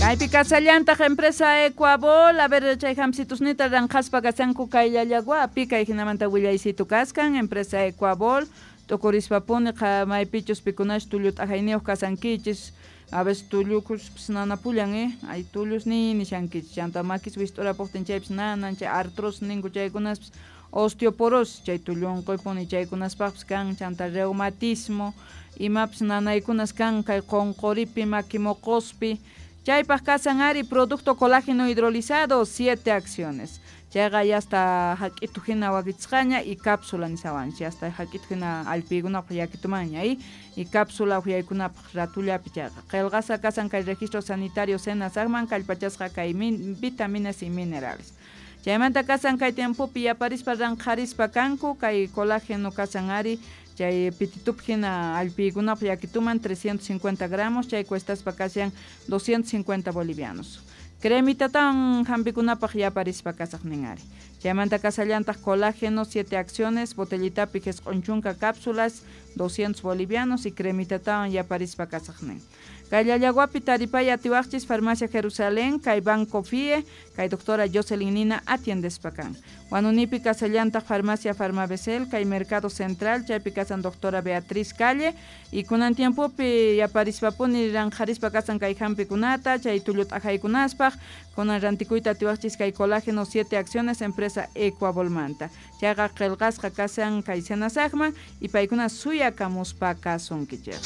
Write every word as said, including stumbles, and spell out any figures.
Kaypi kasallantaq empresa Ecuabol, a ver chay hamsitusnita ranqaspa kasanku kay llallaguapi, kay hinamanta willaysitu kaskan empresa Ecuabol, t'ukurispapuni maypichus pikunash tullu t'ajayniyuq kasankichis, a veces tullukus nanapullan eh, ay tullus ni nishankichis, chanta makis wist'urapuqtin chaypis nanan, chay artrosis ninku chaykunaspis, osteoporosis chay tullu unquypuni chaykunaspaqpis kan, chanta reumatismo, imapis nanaykunas kan kay qunquripi maki moqospi. Chaypaq kasan ari producto colágeno hidrolizado, siete acciones. Chayqa ya hasta hak'itu hina wakichisqaña y cápsula nisawanchis, ya hasta hak'itu hina allpiykunapaq yakitumanña y, y cápsula uhyaykunapaq ratullapi chayqa. Qillqasqa kasan kay registro sanitario SENASACman kallpachasqa kay min, vitaminas y minerales. Chaymanta kasan kay tiempopi yaparispa ranqharispa kanku kay colágeno kasan ari chay pititup hina allpiykunapaq yakituman trescientos cincuenta gramos, chay cuestaspa kashan doscientos cincuenta bolivianos. Cremitatawan hampikunapaq yaparispa kasaq nin ari. Chaymanta kasallantaq colágeno, siete acciones, botellitapi jisq'un chunka cápsulas, doscientos bolivianos y cremitatawan yaparispa kasaq nin. Kay llallaguapi taripay atiwaqchis Farmacia Jerusalén, kay Banco F I E, kay doctora Jocelyn Nina atiendespa kan. Huanunipi kasallantaq Farmacia Farmabesel, kay Mercado Central, chaypi kasan doctora Beatriz Calle, y kunan tiempopi yaparispapuni ranqharispa kasan kay hampikunata, chay tullu t'ajaykunaspaq, kunan rantikuyta atiwaqchis kay colágeno siete acciones, empresa Ecuabolmanta. Chayqa qillqasqa kasan kay SENASACman, y paykuna suyakamuspa kasunkichik.